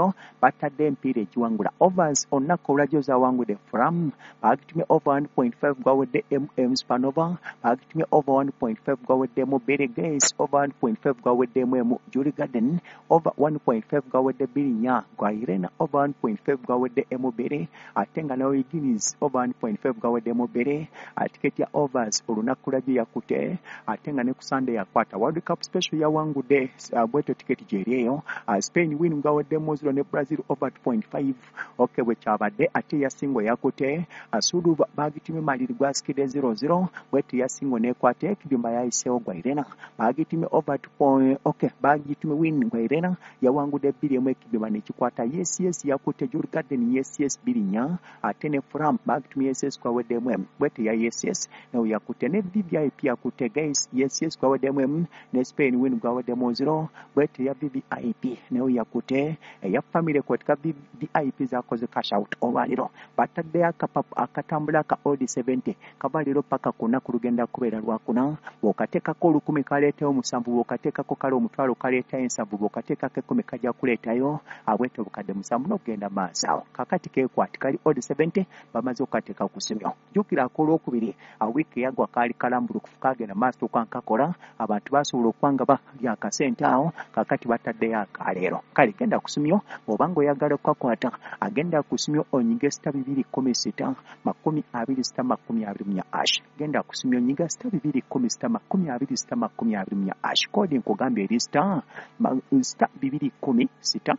Olwaleero batadde empiira egiwangula. Overs olunaku olwajjo zawangudde Fram, bagitumye over 1.5 gwawedde MM Spanova, bagitumye over 1.5 gwaweddemu Billy Gates, over 1.5 gwaweddemu emu Julie Garden, over 1.5 gwawedde 4 gwa Irena, over 1.5 gwawedde emu 2, ate nga nawe Guinness over 1.5 gwaweddemu 2. Tiketi ya overs olunaku lwajjo yakute, ate nga ne ku Sunday yakwata. World Cup special yawangudde bwetyo tiketi gyeri eyo. Spain win gwaweddemu 0 ne Brazil over 2.5. Okay, bwe kyabadde. Ate yasingo yakute Suluba bagitumye maliri gwasikidde 0-0, bwetyo yasingo nekwata ekidumba yayiseewo gwa Irena, bagitumye over 2. Okay, bagitumye win gwa Irena yawangudde 2 ekidumba nekikwata. Yes yes yakute Julie Garden, yes yes 2 ate ne Fram bagitumye yes yes kwaweddemu emu, bwetyo ya yes yes nawe yakute ne VVIP yakute guys, yes yes kwaweddemu emu ne Spain win gwaweddemu 0, bwetyo ya VVIP nawe yakute eya family kwetika VIP zakoze cash out. Olwaleero bataddeyo akatambula ka odd 70 kava leero paka kuna ku lugenda kubeera lwakuna. Bw'okateekako 1000 kaleetayo 7, bw'okateekako kale 500 kaleetayo 7, bw'okateekako 10 kajja kuleetayo abwete obukadde 7 n'okugenda maaso awo. Kakati keekwati kali odd 70 bamaze okukateeka ku ssimu. Jjukira akolwokubiri wiiki eyagwa kaali kalambulukufu kagenda maaso okwankakola, abantu basobola okuba nga balya akasente awo. Kakati bataddeyo akaleero. Kale genda ku ssimu bw'oba ng'oyagala okukakwata, agenda ku ssimu onyige *216 26 24 hash. Genda ku ssimu onyiga *216 26 24 hash. Koodi nkugambye eri star *216 26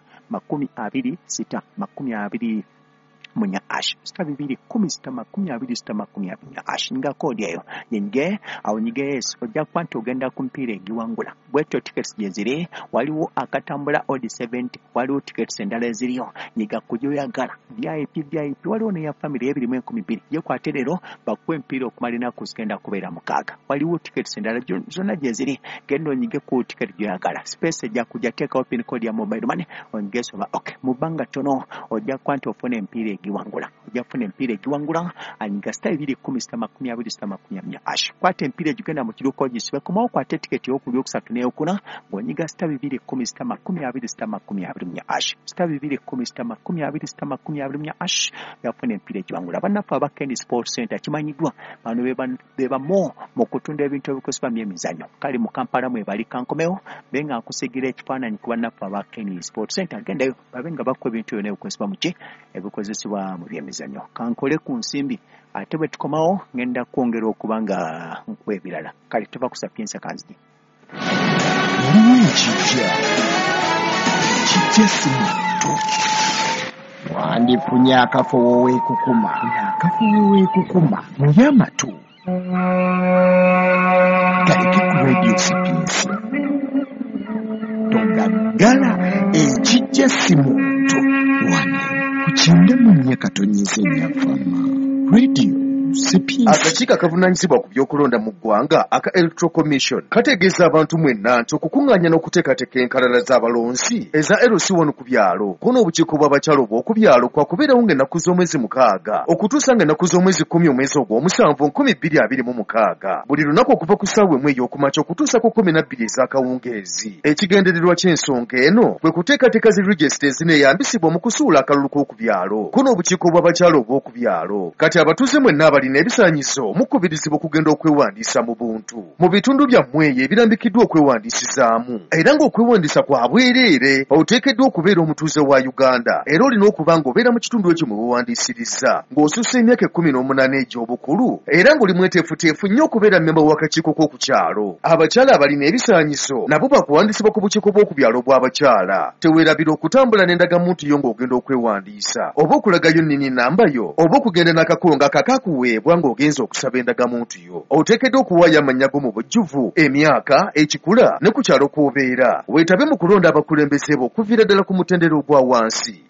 24 hash, *216 26 24 hash. Nga koodi eyo nyige awo, nyige yes, ojja kuba nti ogenda ku mpiira egiwangula. Bwetyo tickets gye ziri, waliwo akatambula odd 70, waliwo tickets endala eziriyo, nyiga ku gy'oyagala. VIP VIP waliwo neya family ebirimu 2000, gyekwate leero bakuwa empiira okumala ennaku zigenda kubeera 6. Waliwo tickets endala zonna gye ziri, genda onyige ku ticket gy'oyagala. Space ejja kujja, teekawo pin code ya mobile money onyige soma. Okay, mu bbanga ttono ojja kuba nti ofuna empiira egiwangula, ojja kufuna empiira egiwangula. Anyiga *216 26 24 hash. Kwata empiira egigenda mu kiruka ogisibe, komawo okwate tiketi ey'okubiri, okusatu n'eyokuna ng'onyiga *216 26 24 hash, *216 26 24 hash, yafuna empiira egiwangula. Bannaffe aba Kendi Sport Center kimanyiddwa bano be bamu mu kutunda ebintu ebikozesebwa mu byemizannyo. Kale mu Kampala mwebali, kankomewo be nga nkusigira ekifaananyi ku bannaffe aba Kendi Sport Center. Gendayo babe nga bakuwa ebintu byonna ebikozesebwa mu ki ebikozesebwa mu byemizannyo. Kankole ku nsimbi, ate bwe tukomawo ngenda kwongera okuba nga nkuwa ebirala. Kale tuva ku Sapienza kanzigi. Waliwo ekijja kijja si muntu wandifunye akafo woweekukuma, akafo woweekukuma muye amatu galeke ku Radio Sapiensia togaggala. Ekijja si muntu wano ku 94.4 Radio Sapiensia. Akakiiko akavunaanyizibwa ku by'okulonda mu ggwanga aka Electoral Commission kategeeza abantu mwenna nti okukuŋŋaanya n'okuteekateeka enkalala z'abalonzi eza LC1 ku byalo ko n'obukiiko bw'abakyala obw'oku byalo kwakubeerawo ng'ennaku z'omwezi 6 okutuusa ng'ennaku z'omwezi 10 omwezi ogw'omusanvu 2026, buli lunaku okuva ku ssaawa 1 ey'okumakya okutuusa ku 12 ez'akawungeezi. Ekigendererwa ky'ensonga eno kwe kuteekateeka zi regisita ezineeyambisibwa mu kusuula akalulu k'oku byalo ko n'obukiiko bw'abakyala obw'oku byalo. Kati abatuuze mwenna abalina ebisaanyizo mukubirizibwa okugenda okwewandiisa mu buntu mu bitundu byammwe eyo ebirambikiddwa okwewandiisizaamu, era ng'okwewandiisa kwa bwereere. Oteekeddwa okubeera omutuuze wa Uganda era olina okuba ng'obeera mu kitundu ekyo mwe weewandiisiriza, ng'osussa emyaka 18 egy'obukulu, era ng'oli mweteefuteefu nnyo okubeera mmemba w'akakiiko k'oku kyalo. Abakyala abalina ebisaanyizo nabo bakuwandiisibwa ku bukiiko bw'oku byalo bw'abakyala. Teweerabira okutambula n'endagamuntu yo ng'ogenda okwewandiisa, oba okulagayo nnini namba yo, oba okugenda n'akakongo akakakuweebwa ng'ogenza okusaba endagamuntu yo. Oteekeddwa okuwaayo amannya go mu bujjuvu, emyaka, ekikula ne ku kyalo kw'obeera. Weetabe mu kulonda abakulembeze bo okuviira ddala ku mutendera ogwa wansi.